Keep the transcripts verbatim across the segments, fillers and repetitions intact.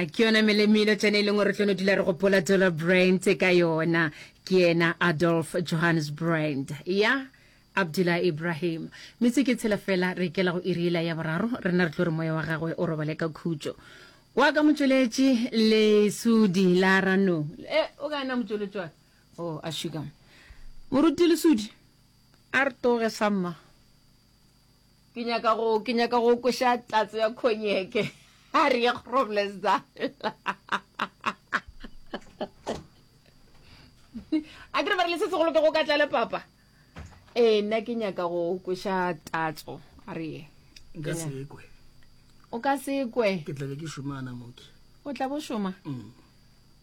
Ya, ke yona melemilo tšene e leng gore tlo no dula re gopola Dollar Brand ka yona. Ke yena Adolf Johannes Brand. Ya, Abdullah Ibrahim. Metse ke tshela fela re ikela go iri yela ya boraro, rena re tlo re moya wa gagwe o robale ka khutšo. Wa ka motšweletši Lesudi la Rano. E, o ka na motšweletši wa ka? Oh, a šika. Moruti Lesudi, a re toge samma. Ke nyaka go, ke nyaka go kweša tatso ya khonyeke. A re ye Groblersdal. A ke re ba re le se segolo ke go ka tlale papa. Ee, nna ke nyaka go kweša tatso. A re ye. Nka se kwe. O ka se kwe. Ke tla be ke šomana moke. O tla bo šoma? Mm.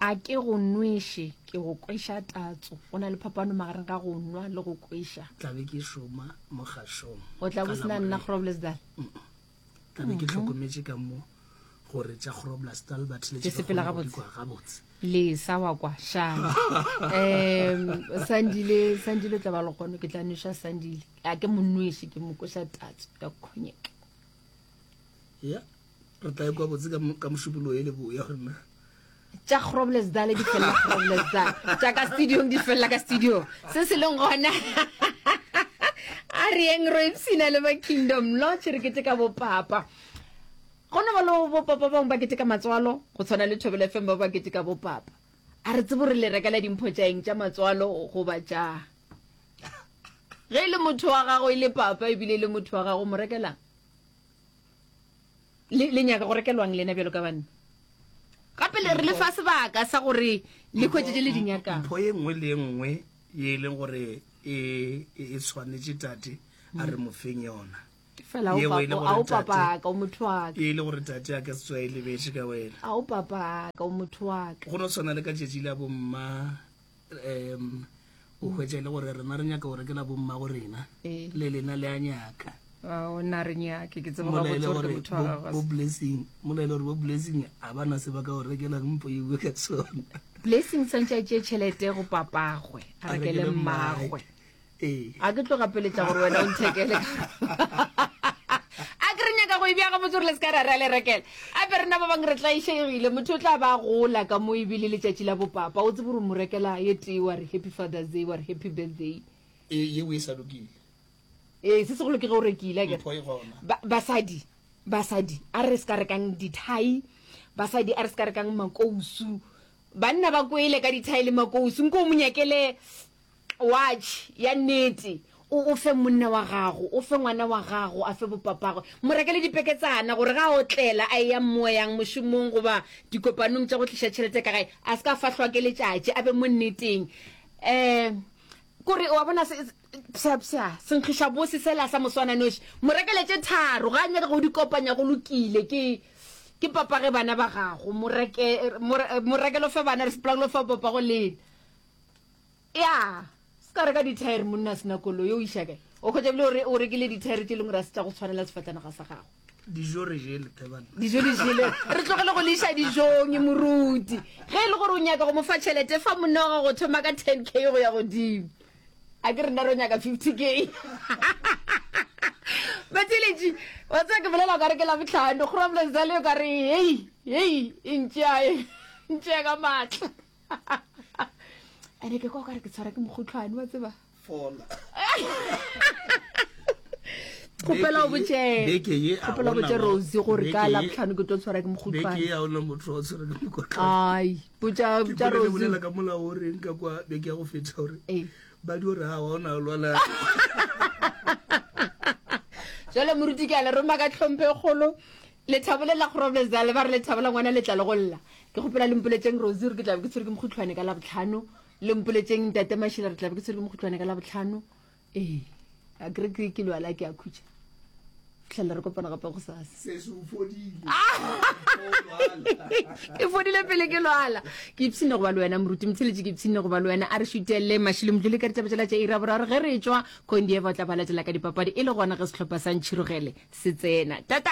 A ke go nweše, ke go kweša tatso. Go na le phapano magareng ga go nwa le go kweša. Tla be ke šoma mogašong. O tla bo sena nna Groblersdal? Tla be ke hlokometše ka mo gore tša Groblersdal ba Di sepela theletše gabotse. gabotse. Lesa wa kwa šala. Um Sandile, Sandile o tla ba le gone, ke tla nweša Sandile. A ke mo nweše, ke mo kweša tatso ya khonyeke. Ya, re tla ekwa botse ka mošupologo e le boya gore na. Tša Groblersdal di felela Groblersdal, tša ka studiong di felela ka studiong. Se se leng gona a re yeng ro ipshina le ba Kingdom Lodge re keteka bopapa. Go no ba le bopapa bangwe ba keteka matswalo, go tshwana le Thobela F M ba ba keteka bopapa. A re tsebe gore le rekela dimpho tša eng, tša matswalo goba tša ge e le motho wa gago e le papa ebile e le motho wa gago mo rekelang. Le, le nyaka go rekelwang lena bjalo ka banna? Gape le re le fa sebaka sa gore le hwetše tše le di nyakang. Mpho ye nngwe le ye nngwe ye e leng gore e, e, e tshwanetše tate, a re mo feng yona. Fela Yeo e le a o gore tate- papa ka o motho wa ka. E le gore tate a ka se tsoge e lebetše ka wena. A o papa ka o motho wa ka. Go no tshwana le ka tšatši la bomma, um o hwetša e le gore rena re nyaka go rekela bomma go rena, Ee. le lena le a nyaka. Ao, nna re nyake, ke tseba Mola e le gabotse gore gore ke motho wa bo- gago a bo se- Blessing, mola e le gore bo Blessing a ba na se ba ka go rekelang mpo e bue ka sona. Blessing tshwanetse a tšee tšhelete go papagwe, a A rekele rekele mmagwe. mmagwe. Ee. A ke tlo gapeletša gore wena o nthekele ka A ke re nyaka go e bea gabotse gore le se ka ra re a le rekela. Ape rena ba bangwe re tlaišegile, motho o tla ba gola ka mo ebile letšatši la bopapa, o tsebe gore o mo rekela ye tee wa re happy Father's Day, wa re happy birthday. Ee, yeo e sa lokile. Ee, se segolo ke ge o rekile, akere. Mpho e gona. Ba, basadi, basadi, a re se ka rekang dithai, basadi a re se ka rekang makousu. Banna ba kwele ka dithai le makousu, nko o mo nyakele watch ya nnete, o, o fe monna wa gago, o fe ngwana wa gago, a fe bopapagwe. Mo rekele dipeketsana gore ga a otlela a eya moyang mošomong goba dikopanong tša go tliša tšhelete ka gae, a se ka fahlwa ke letšatši, a be mo nneteng. Eh, kore wa bona se, psha, psha, senkgiša bose sela sa moswana noši, mo rekele tše tharo, ga a nyaka go di kopanya go lokile, ke, ke papage bana ba gago, mo reke, mo re, mo rekele o fe bana, re sepelang lo fa papago lena. Ya, se ka reka dithaere monna a sena koloi, o iša kae? O hwetša ebile o re, o rekile dithaere tše leng gore a se tša go tshwanela sefatanaga sa gago. Dijo re jele, Tebana. Dijo di jele. Re tlogele go le iša dijong, moruti. Ge e le gore o nyaka go mo fa tšhelete, fa monna wa gago go thoma ka ten K go ya godimo. A ke rena re nyaka fifty K. Batheeletši, wa tseba ke bolela o ka re ke Labohlano, Groblersdal o ka re hei, hei, e ntšea, e ntšea ka maatla. Ene ke kwa o ka re ke tshwara ke mokgohlwane, wa tseba. Fola. Kgopela o botše, Beke ye, a kgopela o botše gona Rosie gore ka beke ye- Labohlano ke tlo tshwara ke mokgohlwane. Beke ye a ona motho wa tshwara ke mokgohlwane. Ai, botša, Ke botša kwele le Rosie. bolela ka molao o reng ka kwa beke ya go feta gore Ee. ba di gore ha wa ona o lwala. Jwale moruti ke a le roma ka tlhompho e kgolo. Lethabo le la Groblersdal ba re lethabo la ngwana le tla le go lla. Ke kgopela le mpoletšeng Rosie gore ke tla be ke tshwere ke mokgohlwane ka Labohlano. Le mpoletšeng Ntate Mashila re tla be ke tshwere ke mokgohlwane ka Labohlano. Ee, a ke re ke ke lwala ke a khutša. Fitlhela re kopana gape go sasa. Se se o fodile. Ke fodile pele ke lwala. Ke ipshine go ba le wena moruti Motheletši, ke ipshine go ba le wena. A re šutele Mashilo Mdluli ka ditaba tšela tša iri ya boraro ge re tšwa Kondieva o tla ba latela ka dipapadi e le gona ge sehlopha sa Ntšhirogele se tsena. Tata!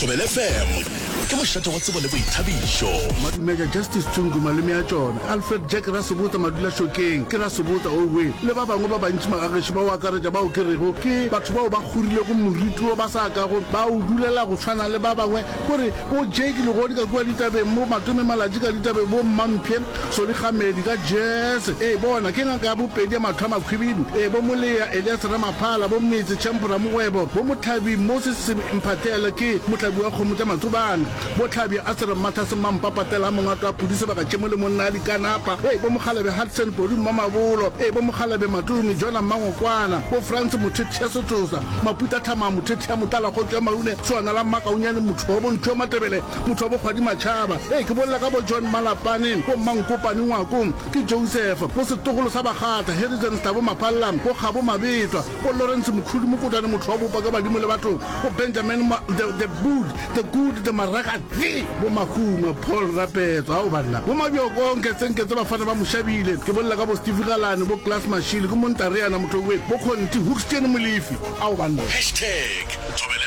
Thobela F M. Ke mošate wa tsebo le boithabišo. Madumeja Justice Tsungu malome a tšona, Alfred Jack Rasebotsa Madulašokeng ke Rasebotsa owe le ba bangwe ba bantši magagešo ba o akaretša bao ke rego ke batho bao ba kgorilego moriti wo ba sa kago ba o dulela go tshwana le ba bangwe kore bo Jake Legodi ka kua ditabeng bo Matome Malatji ka ditabeng bo Mmamphe Solly Kgamedi ka Jazz ee bona ke ngaka ya bopedi ya mahlo a makhwibidu ee bo Molea Elias Ramaphala bo Metse Champ Ramogwebo bo Mohlabi Moses Mphathele ke mohlabi wa kgomo tša Matsobane bo Hlabi Asere Mmathase Mmampapatela Mongato wa Pudi Sebaka Tšemo le monna a Dikanapa ee bo Mokgalabje Hudson Podi Mmamabolo ee bo Mokgalabje Matome Jona Mmangokwana bo Frans Mothethe Setsosa Maputa Thama Mothethe Motala Kgotso ya Maune Swana la Mmakaunyane motho wa Bontšho wa Matebele motho wa Bokgwadi Matšhaba ee ke bolela ka bo John Malapane bo Mmankopane Ngwako ke Joseph bo setogolo sa Bakgatla Harrison Stabo Maphallang bo Kgabo Mabetwa bo Lawrence Mokhudu Mokotane motho wa bopa ka badimo le batho bo Benjamin Ma the, the good the good the Maragatse bo Mahumo Paul Rapetso ao banna bo Mabjoko Nketsenketse bafana ba Moshabile ke bolela ka bo Steve Galane bo Klaas Mashile ke Montareana motho we bo Kgonti Hoekstein Molefi ao banna Hashtag Thobela